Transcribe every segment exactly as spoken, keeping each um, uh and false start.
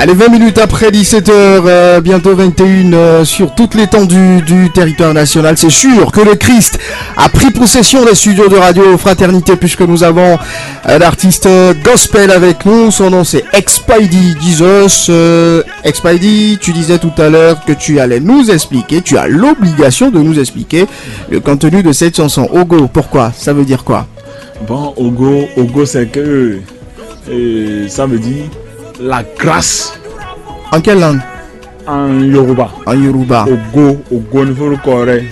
Allez, vingt minutes après dix-sept heures, euh, bientôt vingt et une, euh, sur toute l'étendue du territoire national. C'est sûr que le Christ a pris possession des studios de Radio Fraternité, puisque nous avons un artiste, euh, gospel avec nous. Son nom, c'est Expidey Jesus. Euh, Expidey, tu disais tout à l'heure que tu allais nous expliquer, tu as l'obligation de nous expliquer le contenu de cette chanson. Ogo, pourquoi? Ça veut dire quoi? Bon, Ogo, Ogo, c'est que, euh, ça veut dire la grâce En quelle langue? En Yoruba. En Yoruba. Ogo, Ogo, il faut le correct.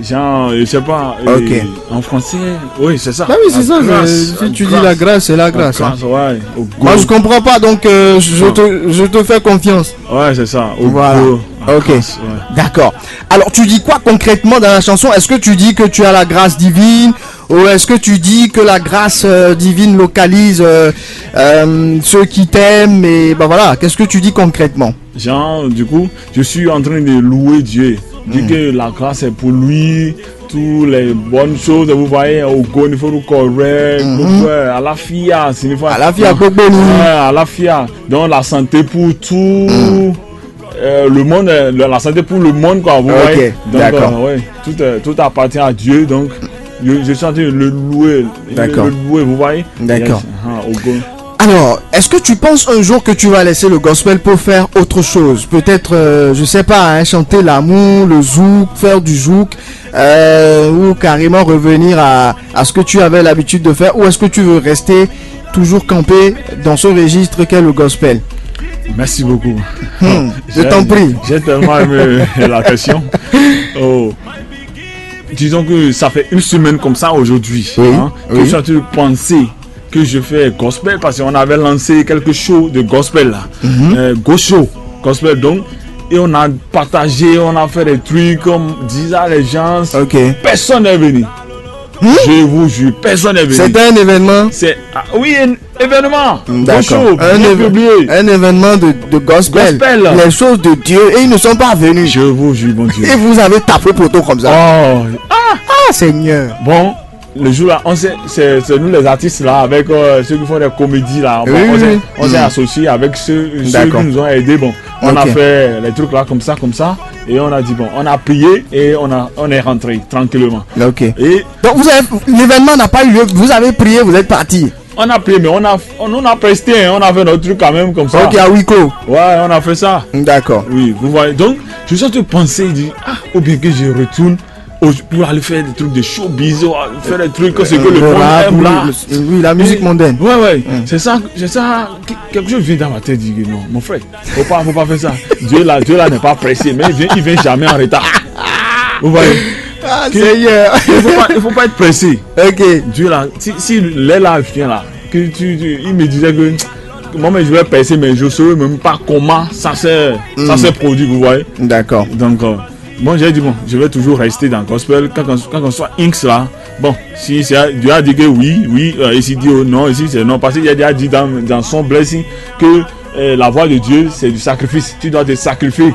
Genre, je sais pas, euh, Ok. En français, oui, c'est ça. Bah oui, c'est ça. Grâce, Si tu dis la grâce, c'est la grâce, hein. Ouais, Ogo. Moi, je comprends pas, donc, euh, je, te, je te fais confiance. Ouais, c'est ça. Ogo, Voilà. La Ok. Grâce, ouais. D'accord. Alors, tu dis quoi concrètement dans la chanson? Est-ce que tu dis que tu as la grâce divine, ou est-ce que tu dis que la grâce, euh, divine localise, euh, euh, ceux qui t'aiment, et ben voilà, qu'est-ce que tu dis concrètement? Genre, du coup, je suis en train de louer Dieu. Dire que la grâce est pour lui, toutes les bonnes choses, vous voyez, Ogo, il faut le correct, ouais, Alafia, signifie Alafia, gbogbo ni. Ouais, Alafia. Donc, la santé pour tout. Euh, le monde, euh, la santé pour le monde, quoi, vous Ok, voyez. Donc, d'accord. Euh, ouais, tout, euh, tout appartient à Dieu, donc je, je suis en train de le louer. D'accord. Le louer, vous voyez. D'accord. Yes. Ah, Ogo. Alors, est-ce que tu penses un jour que tu vas laisser le gospel pour faire autre chose? Peut-être, euh, je sais pas, hein, chanter l'amour, le zouk, faire du zouk, euh, ou carrément revenir à, à ce que tu avais l'habitude de faire, ou est-ce que tu veux rester toujours campé dans ce registre qu'est le gospel? Merci beaucoup. Hmm, je t'en prie. J'ai tellement aimé la question. Oh. Disons que ça fait une semaine comme ça aujourd'hui, Oui, hein, que oui. Je suis en train de penser que je fais gospel parce qu'on avait lancé quelque chose de gospel là. Mhm. Euh, Go Show, gospel donc. Et on a partagé, on a fait des trucs comme disant les gens. Ok. Personne n'est venu. Hmm? Je vous jure, personne n'est venu. C'était un événement. C'est, ah, oui, un événement. Go D'accord. Show, Un, bien éve- publié. Un événement de, de gospel. Gospel. Les choses de Dieu. Et ils ne sont pas venus. Je vous jure, mon Dieu. Et vous avez tapé poteau comme ça. Oh. Ah, Seigneur. Bon, le jour-là, on s'est, c'est, c'est nous les artistes là, avec euh, ceux qui font des comédies là. Bon, Oui, on oui, s'est, oui. On s'est Mm. Associés avec ceux, ceux D'accord. Qui nous ont aidés. Bon, on a Ok. Fait les trucs là comme ça, comme ça. Et on a dit, bon, on a prié et on, a, on est rentré tranquillement. Ok. Et Donc vous avez, l'événement n'a pas eu lieu. Vous avez prié, vous êtes parti. On a prié, mais on a, on, on a presté, hein, on a fait notre truc quand même comme ça. Ok, à huis clos. Ouais, on a fait ça. D'accord. Oui, vous voyez. Donc, je suis en train de penser, je dis, ah, ou bien que je retourne au- pour aller faire des trucs de showbiz, ou aller faire des trucs, c'est que le Le monde rap, aime oui, là. le- oui, la musique Et- mondaine. Ouais, ouais, c'est ça, que- quelque chose vient dans ma tête, dit que non, mon frère, faut pas, faut pas faire ça. Dieu là, Dieu là n'est pas pressé, mais il vient, il vient jamais en retard. Vous voyez. Ah, Que- Seigneur. Il faut pas, il faut pas être pressé. Ok. Dieu là, si, si l'heure là vient là, que tu, tu- il me disait que moi, mais je vais percer, mais je ne saurais même pas comment ça s'est, ça s'est produit, vous voyez. D'accord. Donc, euh, bon, j'ai dit, bon, je vais toujours rester dans le gospel. Quand, quand, quand on soit Inks là, bon, si c'est, Dieu a dit que oui, oui, euh, ici dit oh, non, ici c'est non. Parce qu'il a déjà dit dans, dans son blessing que euh, la voie de Dieu, c'est du sacrifice. Tu dois te sacrifier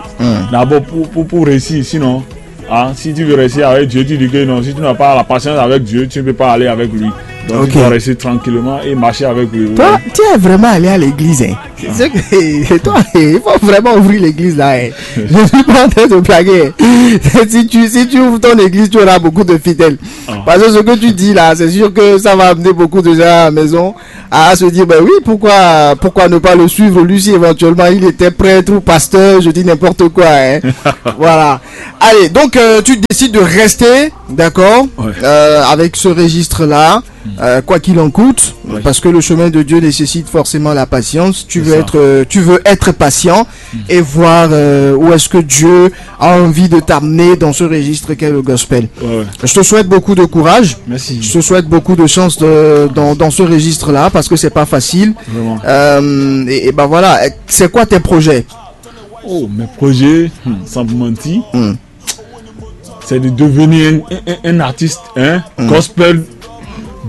d'abord pour, pour, pour réussir. Sinon, hein, si tu veux réussir avec Dieu, tu dis que non, si tu n'as pas la patience avec Dieu, tu ne peux pas aller avec lui. Donc, Ok. Tu dois rester tranquillement et marcher avec lui. Toi, Ouais. Tu es vraiment allé à l'église, hein. C'est que, toi, il faut vraiment ouvrir l'église là, hein. Je suis pas en train de blaguer. Si tu, si tu ouvres ton église, tu auras beaucoup de fidèles. Parce que ce que tu dis là, c'est sûr que ça va amener beaucoup de gens à la maison à se dire, ben oui, pourquoi, pourquoi ne pas le suivre? Lui, si éventuellement il était prêtre ou pasteur, je dis n'importe quoi, hein. Voilà. Allez, donc euh, tu décides de rester, d'accord, Ouais. euh, avec ce registre-là, euh, quoi qu'il en coûte, Ouais. Parce que le chemin de Dieu nécessite forcément la patience. Tu C'est veux ça. Être, euh, tu veux être patient et voir euh, où est-ce que Dieu a envie de t'amener dans ce registre qu'est le gospel. Ouais, ouais. Je te souhaite beaucoup de courage. Merci. Je te souhaite beaucoup de chance de- dans, dans ce registre-là parce que c'est pas facile. Vraiment. Euh, et, et ben voilà, c'est quoi tes projets? Oh, mes projets, hmm, sans vous mentir, Hmm. C'est de devenir un, un- un- un artiste, hein, gospel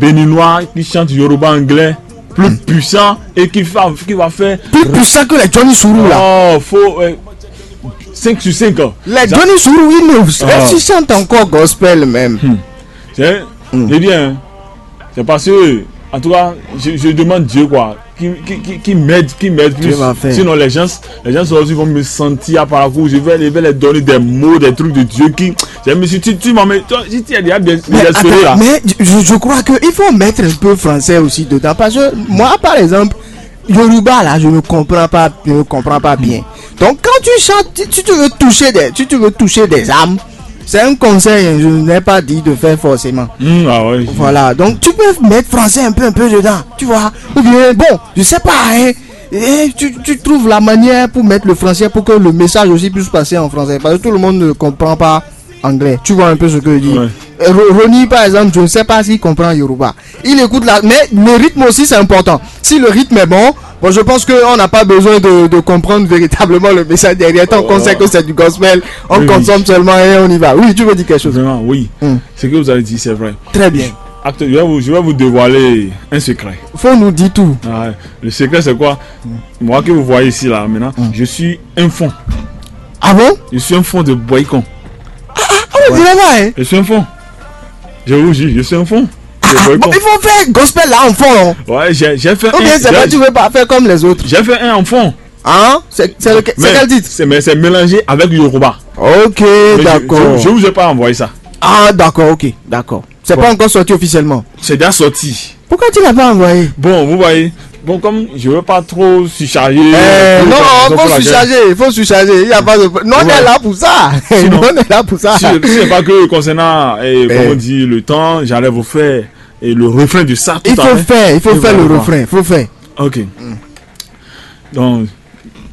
béninois qui chante Yoruba anglais, plus puissant et qui va, qui va faire. Plus puissant que les Johnny Sourou là. Oh, faut euh, cinq sur cinq. Les Johnny Sourou, ils nous, Ah. Ils chantent encore gospel même. C'est, eh bien, c'est parce que En tout cas, je, je demande Dieu, quoi, qui, qui, qui, qui m'aide, qui m'aide plus. Sinon, les gens, les gens aussi vont me sentir à Parakou. Je vais, je vais leur donner des mots, des trucs de Dieu qui, je me suis, tu, tu m'as, mais toi, si tu as déjà dé- désespéré là. Mais je, je crois qu'il faut mettre un peu français aussi dedans. Parce que moi, par exemple, Yoruba, là, je ne comprends pas, je ne comprends pas bien. Donc, quand tu chantes, si tu veux toucher des, si tu veux toucher des âmes, c'est un conseil, hein, je n'ai pas dit de faire forcément. Hmm, ah ouais. Voilà, donc tu peux mettre français un peu, un peu dedans, tu vois. Ou bien, bon, je sais pas, hein, et tu, tu trouves la manière pour mettre le français pour que le message aussi puisse passer en français. Parce que tout le monde ne comprend pas anglais. Tu vois un peu ce que je dis. Ouais. Euh, Ro- Ronnie, par exemple, je ne sais pas s'il comprend Yoruba. Il écoute là, mais le rythme aussi, c'est important. Si le rythme est bon, bon, je pense qu'on n'a pas besoin de, de comprendre véritablement le message derrière. Tant qu'on sait que c'est du gospel, on Oui, oui. Consomme seulement et on y va. Oui, tu veux dire quelque chose. Vraiment, oui. Hmm. Ce que vous avez dit, c'est vrai. Très bien. Acte, je vais vous, je vais vous dévoiler un secret. Faut nous dire tout. Ah, le secret, c'est quoi? Moi que vous voyez ici, là, maintenant, je suis un fond. Ah bon? Je suis un fond de boycon. On dirait pas, hein? Je suis un fond. Je vous jure, je suis un fond. De Ah, bon, boycon. Il faut faire gospel là en fond, non? Ouais, j'ai j'ai fait Ou bien un. c'est pas j'ai- tu veux pas faire comme les autres. J'ai fait un en fond. Hein? C'est c'est le- c'est Mais quel titre? c'est- Mais c'est mélangé avec Yoruba. Ok, Mais je- d'accord. Je, je vous ai pas envoyé ça. Ah, d'accord, ok, d'accord. C'est Bon. Pas encore sorti officiellement. C'est déjà sorti. Pourquoi tu l'as pas envoyé? Bon, vous voyez. Bon, comme je veux pas trop surcharger. Euh, euh, non, la raison faut pour laquelle- surcharger, il faut surcharger. Il n'y a pas de. Non, on Ouais. Est là pour ça. Sinon- Non, on est là pour ça. Si, si c'est pas que concernant, eh, comme Eh. On dit, le temps, j'allais vous faire et le refrain de ça tout Il à faut l'heure. Faire, il faut Et faire voilà, le voilà. Refrain, il faut faire. Ok. Donc,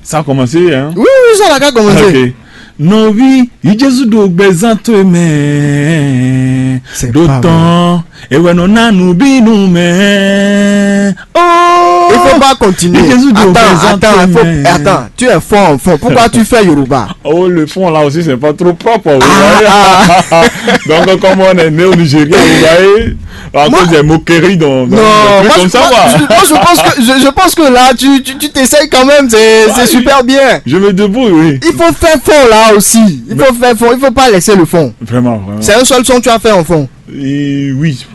ça a commencé, hein? Oui, oui, ça l'a qu'à commencer. Ok. Nɔvi, yi Jesu ɖo gbɛzan towe mɛ. C'est Ɖo pas tɔn, ewɛ nɔ na nubinu mɛ. Oh. Il faut pas continuer. Jésus dit au Attends, présent attends, il faut- mais- attends. Tu es fort en fond. Pourquoi tu fais Yoruba? Oh, le fond là aussi, c'est pas trop propre. Vous Ah, voyez. Donc, comme on est né au Nigeria, vous voyez, à Moi- cause des moqueries, donc, donc, Non, des trucs moi, comme je, ça, moi, quoi. je- moi, je pense que je, je pense que là, tu, tu, tu t'essayes quand même. C'est c'est Ouais, super bien. Je me débrouille, oui. Il faut faire fond là aussi. Il faut faire fond. Il faut pas laisser le fond. Vraiment, vraiment. C'est un seul son que tu as fait en fond. Et oui.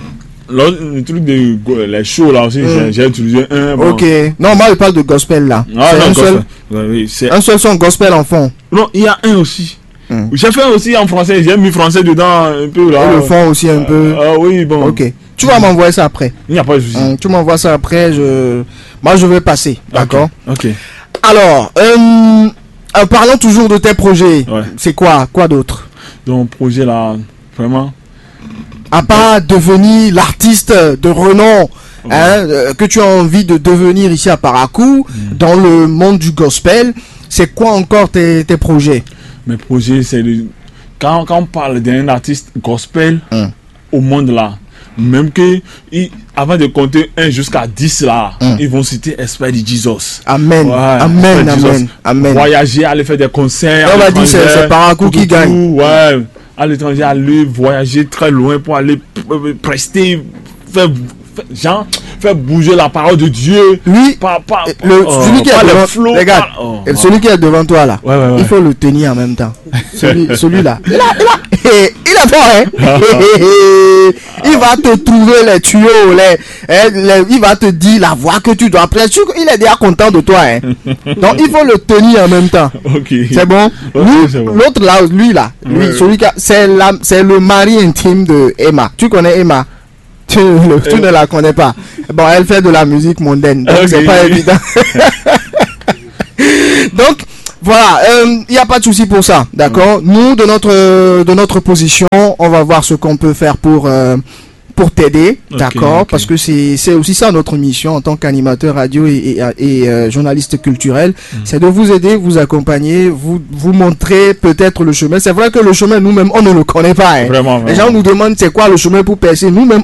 Le, le truc de go- les shows là aussi, Mm. j'ai- j'ai utilisé un. Bon. Ok. Non, moi, je parle de gospel là. Ah, C'est non, un, seul, gospel. Ouais, oui, c'est- Un seul son gospel en fond. Non, il y a un aussi. Mm. J'ai fait aussi en français, j'ai mis français dedans un peu là. Et le fond aussi un peu. Ah oui, bon. Ok. Tu vas m'envoyer ça après. Il n'y a pas de souci. Hum, tu m'envoies ça après. Je... Moi, je vais passer. Ok. D'accord. Ok. Alors, euh, en parlant toujours de tes projets, Ouais. C'est quoi? Quoi d'autre? Donc, projet là, vraiment. À part devenir l'artiste de renom, Ouais. Hein, euh, que tu as envie de devenir ici à Parakou, dans le monde du gospel, c'est quoi encore tes, tes projets? Mes projets, c'est de. Quand, quand on parle d'un artiste gospel Hmm. au monde là, même que il- avant de compter un jusqu'à dix là, Hmm. Ils vont citer Esprit de Jesus. Amen. Ouais, Amen, Esprit de amen, Jesus. amen. Voyager, aller faire des concerts. On À va dire, c'est- l'étranger, c'est Parakou qui tout, tout, gagne. Ouais, à l'étranger, aller voyager très loin pour aller p- euh, prester, faire, faire- genre, faire bouger la parole de Dieu. Lui, Par, par, le, euh, celui qui par est les devant, flots, regarde, par- oh, et ouais. Celui qui est devant toi là, Ouais, ouais, ouais. Il faut le tenir en même temps. Celui, celui-là, il a, il a, eh, il est fort, hein. Il va te trouver les tuyaux, les, hein, les- il va te dire la voie que tu dois prendre. Sûr qu'il est déjà content de toi, hein. Donc il faut le tenir en même temps. Ok. C'est bon. Ok, Lui, c'est bon. L'autre là, lui là, lui, Ouais. Celui qui a- c'est la- c'est le mari intime de Emma. Tu connais Emma? Tu, le- tu Euh. Ne la connais pas. Bon, elle fait de la musique mondaine, donc Ok. C'est pas évident. Donc voilà, il n'y a pas de souci pour ça, d'accord? Nous, de notre de notre position, on va voir ce qu'on peut faire pour euh, pour t'aider, Ok, d'accord? Ok. Parce que c'est c'est aussi ça notre mission en tant qu'animateur radio et, et, et, euh, journaliste culturel, c'est de vous aider, vous accompagner, vous vous montrer peut-être le chemin. C'est vrai que le chemin nous-mêmes on ne le connaît pas, hein. Vraiment, Les vraiment. Gens nous demandent c'est quoi le chemin pour percer. Nous-mêmes